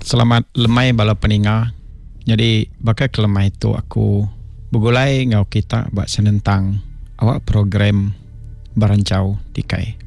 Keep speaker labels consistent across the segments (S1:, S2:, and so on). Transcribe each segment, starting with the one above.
S1: Selamat lemai bala peninga. Nyadi baka ke lemai tu aku begulai enggau kita ba senentang awak program Beranchau Tikai.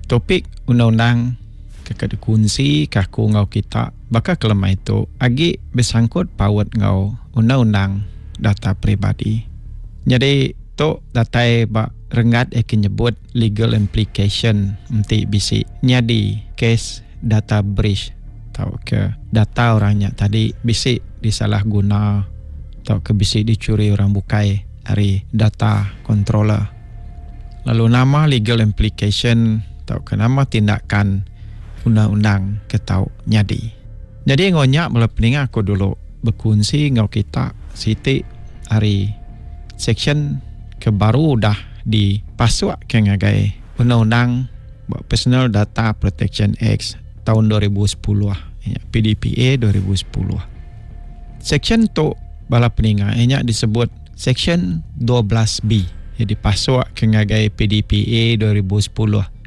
S1: Topik undang-undang ke ka dikunsi ka aku enggau kita baka ke lemai tu agi besangkut paut enggau undang-undang data peribadi. Nyadi tu datai ba renggat iya ke nyebut legal implication enti bisi nyadi kes data breach tauka data orang nya tadi bisi disalah guna tauka bisi dichuri orang bukai ari data controller. Lalu nama legal implication tauka nama tindakan undang-undang ke tau nyadi. Nyadi enggau nya bala peninga aku dulu bekunsi enggau kita siti ari seksyen ke baru udah dipasukka ngagai undang-undang ba Personal Data Protection Act taun 2010 iya PDPA 2010. Seksyen tu bala peninga iya nya disebut Seksyen 12B iya dipasukka ngagai PDPA 2010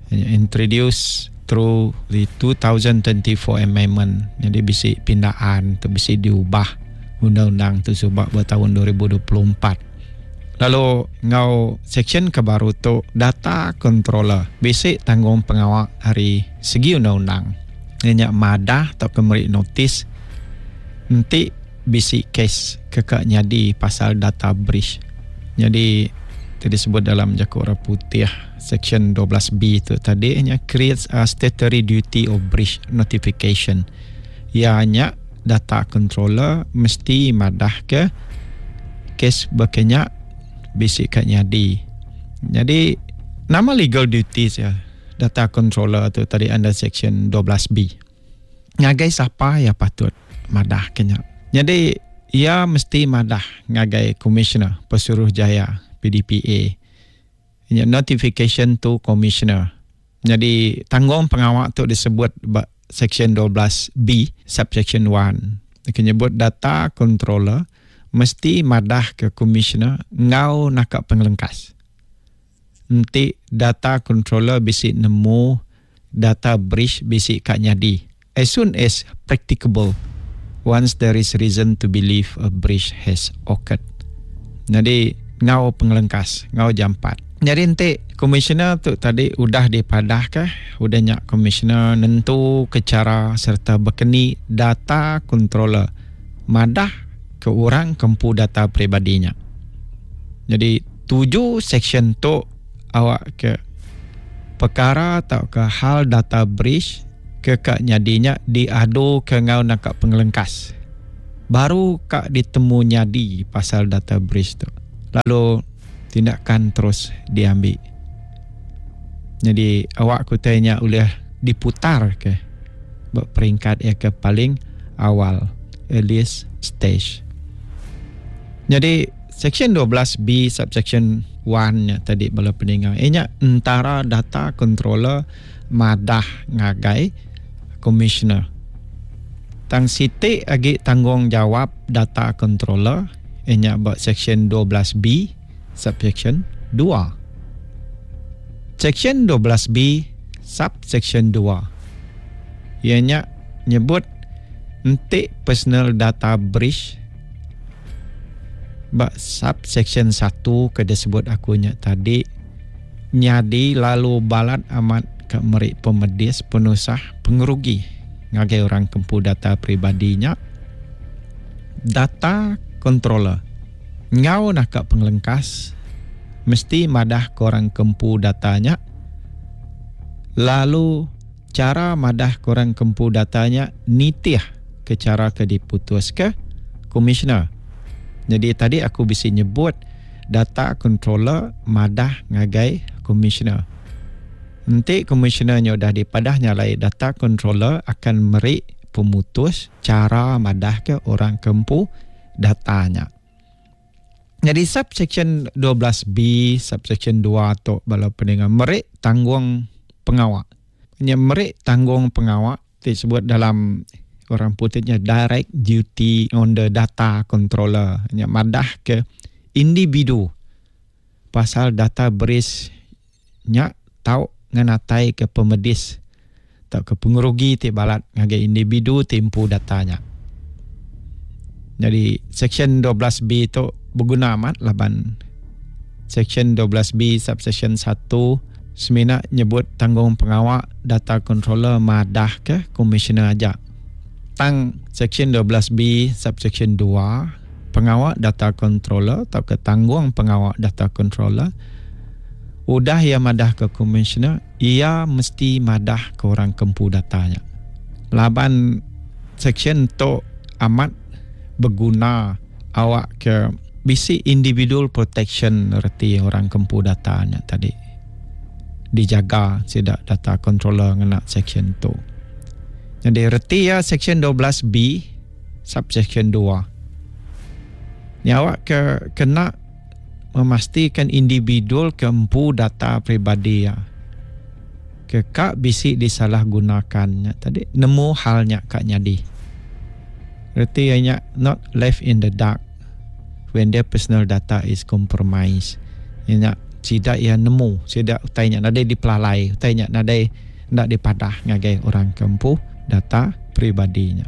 S1: iya nya introduce through the 2024 amendment nyadi bisi pindaan tu bisi diubah undang-undang tu suba ba taun 2024. Lalu enggau seksyen ke baru tu data controller bisi tanggungpengawa ari segi undang-undang iya nya madah tauka meri notis enti bisi kes ke ka nyadi pasal data breach. Nyadi ti disebut dalam jaku orang putih seksyen 12B tu tadi nya creates a statutory duty of breach notification. Iya nya data controller mesti madahka kes baka nya bisi ka nyadi. Nyadi nama legal duties iya data controller tu tadi under section 12B. Ngagai sapa iya patut madahka nya. Nyadi iya mesti madah ngagai Commissioner Pesuruhjaya PDPA. Nya notification to Commissioner. Nyadi tanggung pengawa tu disebut ba Seksyen 12B subsection 1. Ke nyebut data controller mesti madah ke Commissioner enggau naka pengelengkas. Enti data controller bisi nemu data breach bisi ka nyadi as soon as practicable once there is reason to believe a breach has occurred. Nyadi enggau pengelengkas, enggau jampat. Nyadi enti komisioner tu tadi udah dipadahka, udah nya komisioner nentuka chara sereta bekeni data controller madah ke orang ke empu data peribadi nya. Nyadi tuju seksyen tu awakka pekara tauka hal data breach ke ka nyadi nya diaduka enggau naka pengelengkas. Baru ka ditemu nyadi pasal data breach tu lalu tindakan terus diambi. Nyadi awak ke utai nya ulih diputar ke ba peringkat iya ke paling awal, earliest stage. Nyadi section 12B subsection 1 nya tadi bala peninga iya nya entara data controller madah ngagai commissioner. Tang siti agi tanggungjawab data controller iya nya ba section 12B subsection 2. Section 12B subsection 2 iya nya nyebut enti personal data breach ba subsection 1 ke disebut aku nya tadi nyadi lalu balat amat ka meri pemedis penusah pengerugi ngagai orang ke empu data peribadi nya. Data controller enggau naka pengelengkas mesti madah ke orang ke empu data nya lalu chara madah ke orang ke empu data nya nitih ke chara ke diputuska komisioner. Nyadi tadi aku bisi nyebut data controller madah ngagai komisioner. Enti komisioner nya udah dipadah nya alai data controller akan meri pemutus chara madahka orang ke empu data nya. Nyadi subsection 12B subsection 2 tu bala peninga meri tanggung pengawa. Nya meri tanggung pengawa ti sebut dalam orang putih nya direct duty on the data controller. Nya madah ke individu pasal data breach nya tau ngenataika pemedis. tauka pengerugi ti balat ngagai individu ti empu data nya. Nyadi Seksyen 12B tu beguna amat laban Seksyen 12B subseksyen satu semina nyebut tanggungpengawa data controller madahka komisioner aja. Tang Seksyen 12B subseksyen dua pengawa data controller tauka tanggungpengawa data controller udah iya madahka komisioner iya mesti madah ke orang ke empu data nya. Laban seksyen tu amat beguna awak ke bisi individual protection reti orang ke empu data nya tadi dijaga sida data controller ngena seksyen tu. Nyadi reti iya seksyen 12 B subseksyen dua nya awak ke kena memastikan individual ke empu data peribadi iya ke ka bisi disalahgunakan nya tadi nemu hal nya ka nyadi. Reti iya nya not left in the dark when their personal data is compromised. Iya nya sida iya nemu sida utai nya nadai dipelalai utai nya nadai enda dipadah ngagai orang ke empu data peribadi nya.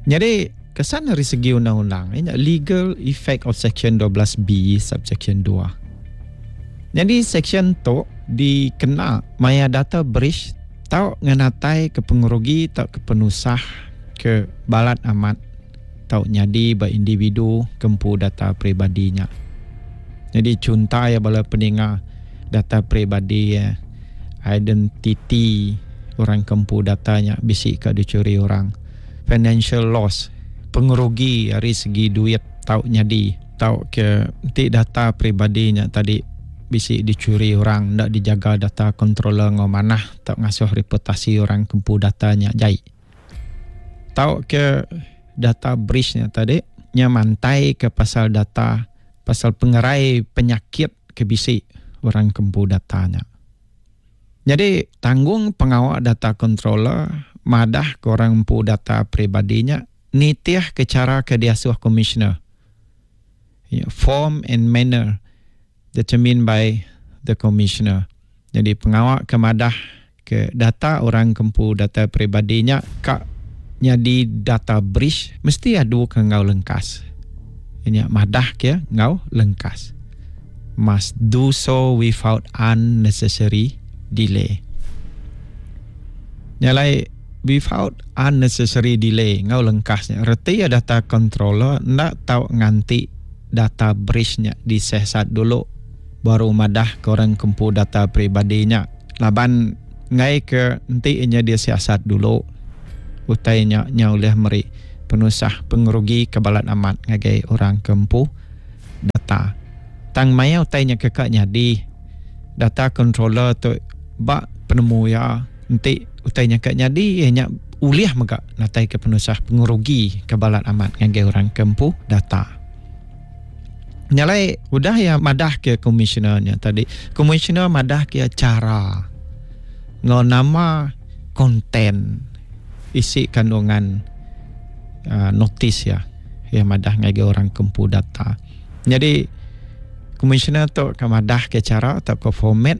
S1: Nyadi Kesan ari segi undang-undang iya nya legal effect of section 12 B subsection dua. Nyadi seksyen tu dikena maya data breach tau ngenataika pengerugi tauka penusah ke balat amat tau nyadi ba individu ke empu data peribadi nya. Nyadi chunta iya bala peninga data peribadi iya identiti orang ke empu data nya bisi ka dichuri orang. Financial loss, pengerugi ari segi duit tau nyadi tauka enti data peribadi nya tadi bisi dichuri orang enda dijaga data controller enggau manah tau ngasuh reputasi orang ke empu data nya jai. Tauka data breach nya tadi nya mantaika pasal data pasal pengerai penyakit ke bisi orang ke empu data nya. Nyadi, tanggung pengawa data controller madah ke orang empu data peribadi nya nitihka chara ke diasuh komisioner, form and manner determined by the commissioner. Nyadi pengawa ke madah ke data orang ke empu data peribadi nya ka nyadi data breach mesti adu ke enggau lengkas. Nya madah ke enggau lengkas. Must do so without unnecessary delay. Nya alai without unnecessary delay enggau lengkas nya reti iya data controller enda tau nganti data breach nya disesat dulu baru madah ke orang ke empu data peribadi nya laban enggai ke enti inya disiasat dulu utai nya nya ulih meri penusah pengerugi ke balat amat ngagai orang ke empu data. Tang maya utai nya ke ka nyadi, data controller tu ba penemu iya enti utai nya ka nyadi iya nya ulih mega natai ke penusah pengerugi ke balat amat ngagai orang ke empu data. Nya alai udah iya madah ke komisioner nya tadi, komisioner madah ke iya chara enggau nama content isi kandungan uhh notis iya. Iya madah ngagai orang ke empu data. Nyadi komisioner tu ke madah ke chara tauka format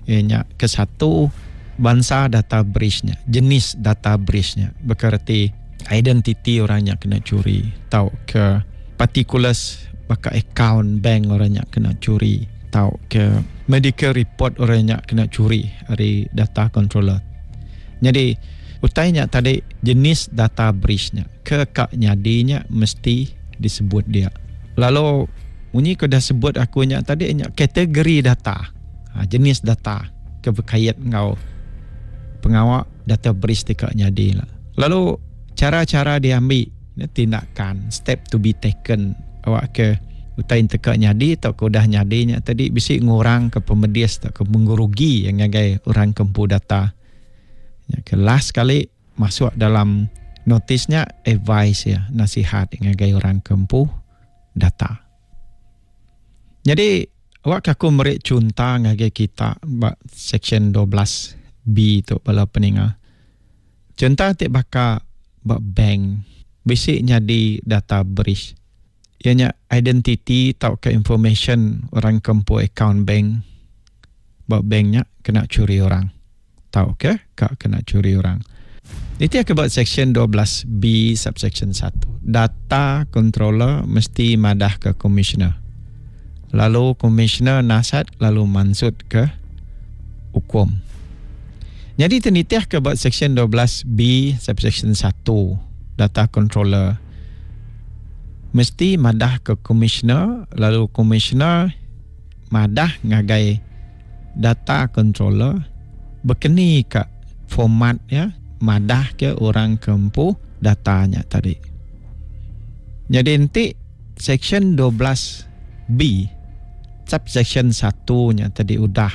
S1: iya nya ke satu bansa data breach nya, jenis data breach nya baka reti identiti orang nya kena churi tauka particulars baka akaun bank orang nya kena churi tauka medical report orang nya kena churi ari data controller. Nyadi utai nya tadi jenis data breach nya. Ke ka nyadi nya mesti disebut dia. Lalu munyi ke udah sebut aku nya tadi nya kategori data, ha, jenis data ke bekait enggau pengawa data breach ti ka nyadi la. Lalu chara-chara diambi ne tindakan, step to be taken awak ke utai enti ka nyadi tauka udah nyadi nya tadi bisi ngurangka pemedis tauka mengerugi ngagai orang ke empu data. Nya ke last sekali. Masuk dalam notis nya advice iya, nasihat ngagai orang ke empu data. Nyadi awak ke aku meri chunta ngagai kita ba seksyen 12 B tu bala peninga. Chunta ti baka ba bank bisi nyadi data breach iya nya identiti tauka information orang ke empu akaun bank ba bank nya kena churi orang. Tauka ka kena churi orang. Nitih ke ba Seksyen 12 B subseksyen satu, data controller mesti madah ke komisioner. Lalu komisioner nasat lalu mansut ke ukum. Nyadi ti nitih ke ba Seksyen 12 B subseksyen satu, data controller mesti madah ke komisioner lalu komisioner madah ngagai data controller bekeni ka format iya madah ke orang ke empu data nya tadi. Nyadi enti section 12 B subsection satu nya tadi udah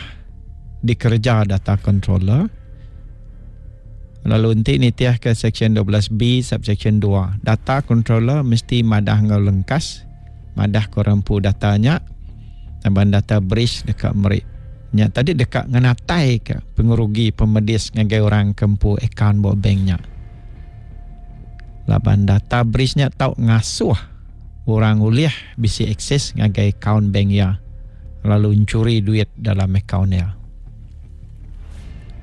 S1: dikereja data controller lalu enti nitih ke section 12 B subsection dua data controller mesti madah enggau lengkas madah ke orang empu data nya laban data breach deka meri nya tadi deka ngenataika pengerugi pemedis ngagai orang ke empu akaun ba bank nya. Laban data breach nya tau ngasuh orang ulih bisi akses ngagai akaun bank iya lalu enchuri duit dalam akaun iya.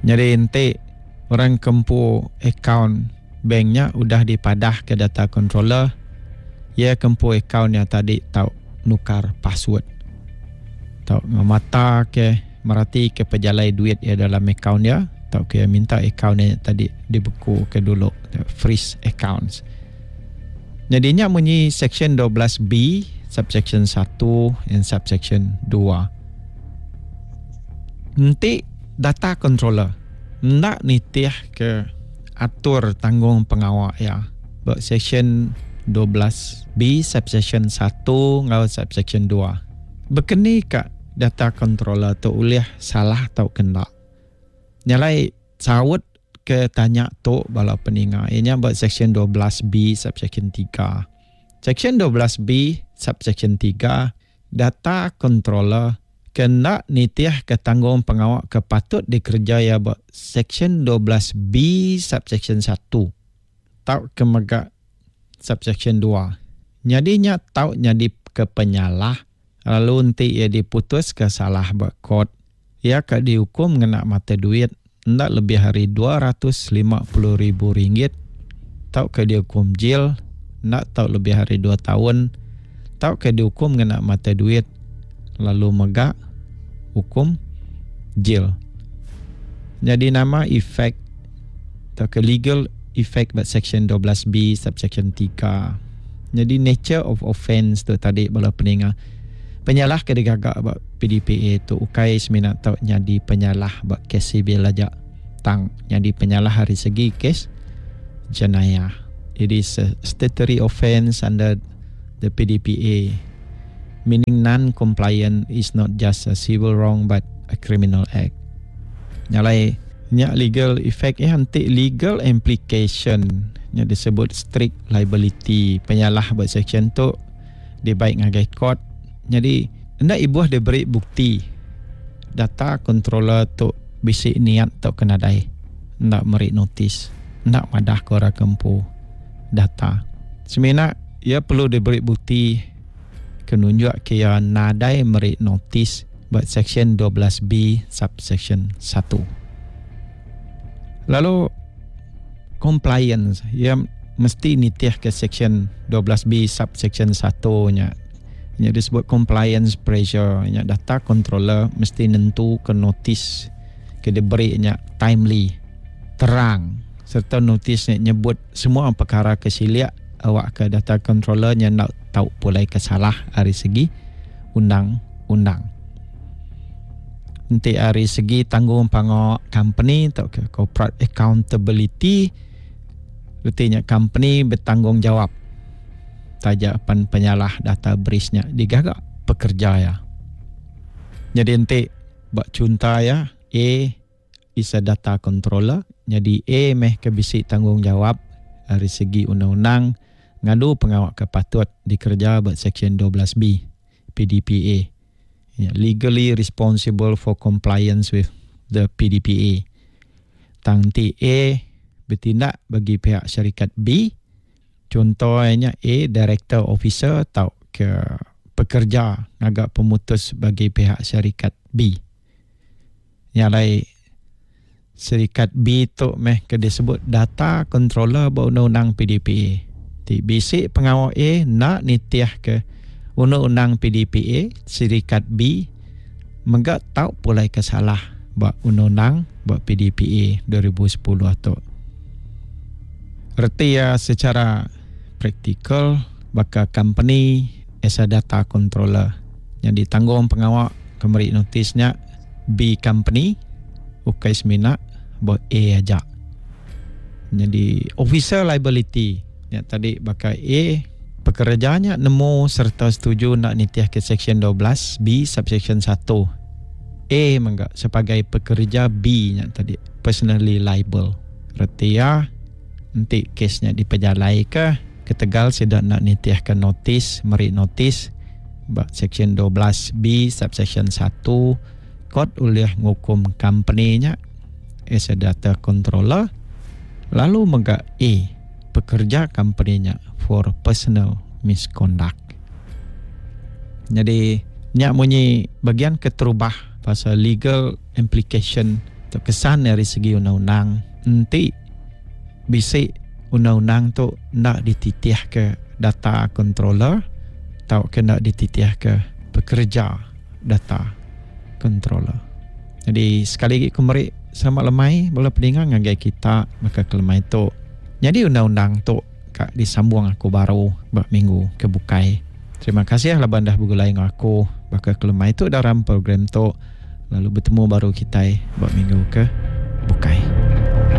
S1: Nyadi enti orang ke empu akaun bank nya udah dipadahka data controller, iya ke empu akaun nya tadi tau nukar password. Tau ngemata ke merati ke pejalai duit iya dalam akaun iya tauka iya minta akaun iya tadi dibeku ke dulu, freeze accounts. Nyadi nya munyi section 12 B subsection satu and subsection dua. Enti data controller enda nitih ke atur tanggung pengawa iya ba seksyen 12 B subseksyen satu enggau subseksyen dua. Bekeni ka data controller tu ulih salah tauka enda? Nya alai saut ke tanya tu bala peninga iya nya ba seksyen 12 B subseksyen tiga. Seksyen 12 B subseksyen tiga data controller ke enda nitihka tanggung pengawa ke patut dikereja iya ba Seksyen 12 B subseksyen satu tauka mega subseksyen dua. Nyadi nya tau nyadi ke penyalah lalu enti iya diputuska salah ba kort, iya ka diukum ngena mata duit enda lebih ari 250 ribu ringgit tauka diukum jil enda tau lebih ari dua taun tauka diukum ngena mata duit lalu mega ukum jil. Nyadi nama efek tauka legal effect ba section 12 B subsection tiga. Nyadi nature of offence tu tadi bala peninga. Penyalah ke digaga ba PDPA tu ukai semina tau nyadi penyalah ba kes sivil aja tang nyadi penyalah ari segi kes jenayah. It is a statutory offence under the PDPA meaning non-compliance is not just a civil wrong but a criminal act. Nya alai nya legal effect iya enti legal implication nya disebut strict liability penyalah ba section tu dibai ngagai court nyadi enda ibuh diberi bukti data controller tu bisi niat tauka nadai enda meri notis enda madah ke orang ke empu data semina iya perlu diberi bukti ke nunjuk ke iya nadai meri notis ba section 12 B subsection satu lalu compliance iya mesti nitihka seksyen 12 B subseksyen satu nya. Nya disebut compliance pressure nya data controller mesti nentuka notis ke diberi nya timely, terang sereta notis nya nyebut semua pekara ke silik awakka data controller nya enda tau pulai ke salah ari segi undang-undang. Enti ari segi tanggung pangawa company tauka corporate accountability reti nya company betanggungjawab taja pan penyalah data breach nya digaga pekerja iya. Nyadi enti ba chunta iya A is a data controller nyadi A meh ke bisi tanggungjawab ari segi undang-undang ngadu pengawa ke patut dikereja ba Seksyen 12 B PDPA. Nya legally responsible for compliance with the PDPA. Tang enti A betindak bagi pihak syarikat B, chunto iya nya A director officer tauka pekerja ngaga pemutus bagi pihak syarikat B. Nya alai. Serikat B tu meh ke disebut data controller ba undang-undang PDPA. Ti bisi pengawa A enda nitihka undang-undang PDPA, serikat B mega tau pulai ke salah ba undang-undang ba PDPA 2010 tu. Reti iya secara praktikal baka kompeni as a data controller nyadi tanggung pengawa ke meri notis nya B company ukai semina ba A aja. Nyadi officer liability nya tadi baka A pekereja nya nemu sereta setuju enda nitihka seksyen 12 B subseksyen satu. A mega sebagai pekereja B nya tadi personally liable. Reti iya enti kes nya dipejalaika ketegal sida enda nitihka notis meri notis ba Seksyen 12 B subseksyen satu kot ulih ngukum kompeni nya as a data controller lalu mega A pekerja kompeni nya for personal misconduct. Nyadi nya munyi bagian keterubah pasal legal implication tu kesan ari segi undang-undang enti bisi undang-undang tu enda dititihka data controller tauka enda dititihka pekereja data controller. Nyadi sekali agi ku meri selamat lemai bala peninga ngagai kita baka ke lemai tu. Nyadi undang-undang tu ka disambung aku baru ba minggu ke bukai. Terima kasih laban dah begulai enggau aku baka ke lemai tu dalam program tu. Lalu betemu baru kitai ba minggu ke bukai.